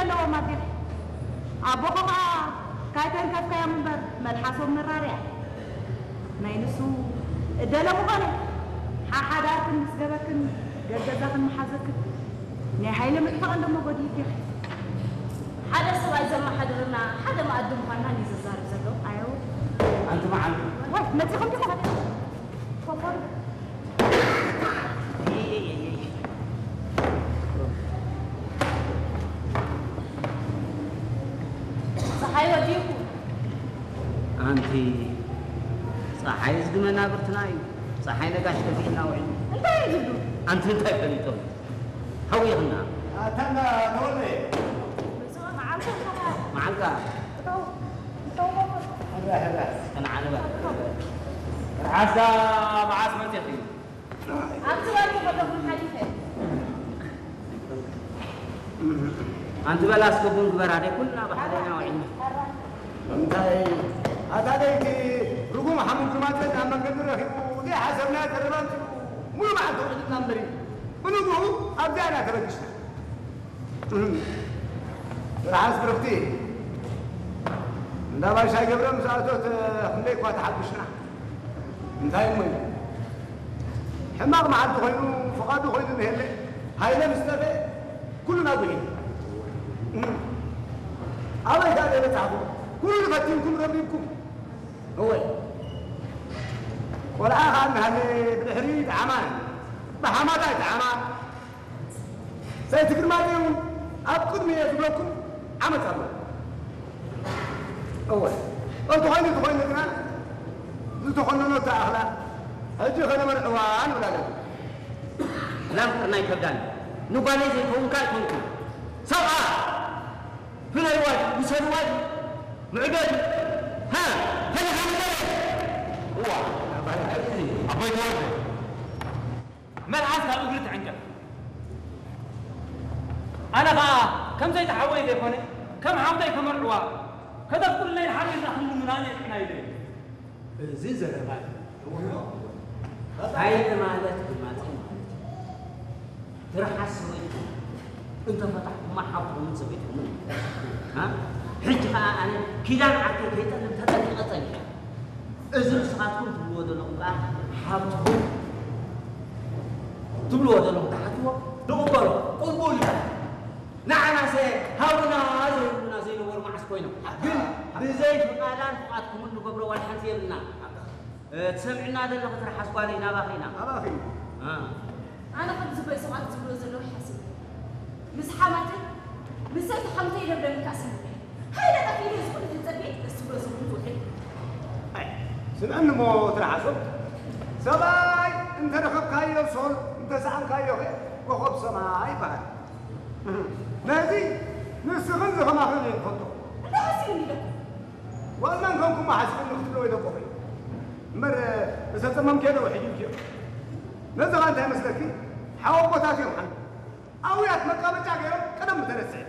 ኣለዎም ኣዴኺ። ኣቦኺ ኸኣ ካይተንከፍካዮም እምበር መልሓሶም መራርያ። ናይ ንሱ እደለ ምኾነ፣ ሓሓዳርክን ምስ ገበክን ገገዛኽን መሓዘክን ናይ ሃይለ ምጥፋእ እንደሞ ጎዲልኪ ኢኺ። ሓደ ሰብኣይ ዘመሓድረና ሓደ መኣዲ ምዃንና እንድዩ ዘዛርብ ዘሎ። ኣየው። ኣንቲ መዓልቲ። ዋይ፣ መጺኹም ዲኹም? ኮኾር። ጸሓይ ወዲእኩ። ኣንቲ ጸሓይ ዝግመ ናብርትና እዩ። ጸሓይ ነጋሽ ከፊእና ውዒሉ። እንታይ እዩ ዝብሉ? ኣንቲ እንታይ ፈሊጦም? ሃዊኽና። ኣታ እንዳ ተወልደ። መዓልካ። መዓልካ። እተው፣ እተው። ሕራ፣ ሕራ። ከነዓንባ። ርሓስካ መዓስ መጺእኺ? ኣብቲ ባርኪ ከለኹም ሓሊፈ። ኣንቲ በላ እስከ ቡን ግበር፣ ኣደይ ኩልና ብሓደ ኢና ውዒልና። እንታይ ኣታ ደይቲ ርጉም ሓሙም ክማፀ ናብ መንገዲ ረኺቡ ዘይሓሰብናዮ ዘረባ ኣምፂኡ ሙሉ መዓልቲ ውዒልና እምበሪ ብንግኡ ኣብዚኣ ኢና ተበጊስና። ርሓስ ብርኽቲ እንዳ ባሻይ ገብረ ምስ ኣቶት ክንደይ እኳ ተሓጒስና። እንታይ እሞ እዩ? ሕማቕ መዓልቲ ኮይኑ፣ ፍቓዱ ኮይኑ ንሄለ፣ ሃይለ ምስ ጠፍአ፣ ኩሉ ናብ ጉሂ። ኣበይ ከኣ ደይ በጻሕኩ? ኩሉ ፈቲንኩም ረቢብኩም። እወ። ቆልዓ ከኣ እናሃለ ብድሕሪ ጠዓማ፣ ብሓማታ ይጠዓማ። ሰይቲ ግርማይ እውን ኣብ ቅድሚ እየ ዝብለኩም ዓመት ኣሎ። እወ፣ እንተኾይኑ እንተኾይኑ ግና ዝተኾነኖ ተኣኽላ ሕጂ ከነመርዕዋ ንብል ኣለና። ላም ቅርና ይከብዳኒ። ንጓለይ ዘይከውንካ ኣይኮንኩን። ሰብኣ ፍለይዋ ድዩ? ውሰድዋ ድዩ? ምዕዶ ድዩ? ሃ? ፈሊኻ ንገረኒ። እዋ፣ ኣቦይ ተወልደ። መልሓስ ካብ እግሪ ትዕንቀፍ። ኣነ ኸኣ ከም ዘይተሓወየ ዘይኮነ፣ ከም ሓፍተይ ከመርዕዋ፣ ከተፍቅዱለይ ሓቢርና ክንልምና ነዒቕና ኢለ። እዚ ዘረባ እዩ። ሃይለ ማለት ግማጺ ማለት እዩ። ትርሓስ ሰበይቱ እንተፈታሕኩማ ሓፍትኹምን ሰበይትኹምን። ሃ? ሕጂ ኸኣ ኣነ ኪዳን ዓርከይ ከይጠልም ተጠንቂቐ ጸኒሐ። እዚ ንስኻትኩም ትብልዎ ዘለኹም ከኣ ሓብትኹም ትብልዎ ዘለኹም ትሓትዎ ንቕበሎ፣ ቅቡል እዩ። ንዓናሰ ሃቡና ዘይብሉና ዘይነበሩ መዓስ ኮይኖም። ግን ብዘይ ፍቓዳን ፍቓድኩምን ንገብሮ ዋላ ሓንቲ የብልና። እ፣ ትሰምዕና ዘለኺ ትርሓስ ጓለይ ናባኺ ኢና። ናባኺ። እ። ኣነ ከምዚ በይ ሰባት ዝብሎ ዘለዉ ሓስብ። ምስ ሓማተይ፣ ምስ ሰይቲ ሓምተይ ኢለ ብደምካ ስምዒ። ሃይለ ጠፊኡ እዚ ኩሉ ዝጸበየ ደስ ዝብሎ ዝብሉ ዝውዕል። ኣይ፣ ስምዕኒ እሞ ትርሓሶ። ሰብኣይ እንተረኸብካዮ ሶል፣ እንተሰኣንካዮ ኸ ኮኸብ ሰማይ ይበሃል። ነዚ ንስኽን ዝኸማኽን እየ ንፈልጦ። እንታይ ሓሲብኒ ኢለኩም? ዋላ እንከንኩማ ሓሲብኒ ክትብሎ ኢለ እኮ እየ። እምበር፣ ዝተጸመምክዮ ዶ ውሒዱልክዮ? ነዚ ኸኣ እንታይ መስለኪ? ሓወቦታት እዮም ሓንቲ። ኣውያት መቃበጫ ገይሮም ቀደም ምተነስሐ።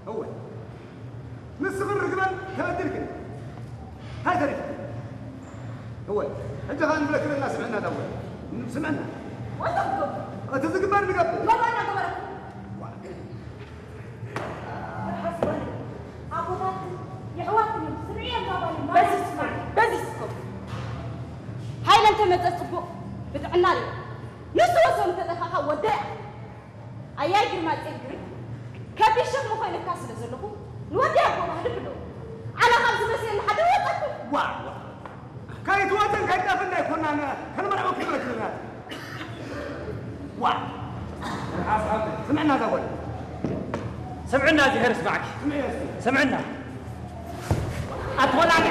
እወ። ንስኽን ርግበን ተበዲልክን። እንታይ ተሪፍክን? እወ። ሕጂ ኸኣ ንብለክን እና ስምዕና ዳወ። ስምዕና። ወተት ገብር። እቲ ዝግበር ንገብር። መባና ገበረኩም። ዋ። ሓስበን። ኣቦታት የሕዋትኩም ስምዒ የጋባሉ። በዚ ስማዕ። በዚ ስኮ። ሃይለ እንተመጸ ጽቡቕ ብጥዕና ርእ። ንሱ ወሰኑ ተጠፋኻ ወደያ። ኣያይ ግርማ ጸግሪ ከቢድ ሸኽሚ ኮይነካ ስለ ዘለኹ ንወዲ ኣቦ ባህሊ ብሎ። ኣነ ካብ ዝመስለኒ ሓደ ወጣኩ። ዋ፣ ዋ። ከይትወጥን ከይትጠፍን ኣይኮናን ከንመርዖ ክብረት ይብላት። ዋ። ስምዕና እዛ ጓል። ስምዕና እዚ ሄር ስማዕኪ። ስምዒ እስኪ። ስምዕና። ኣትኾላኒ።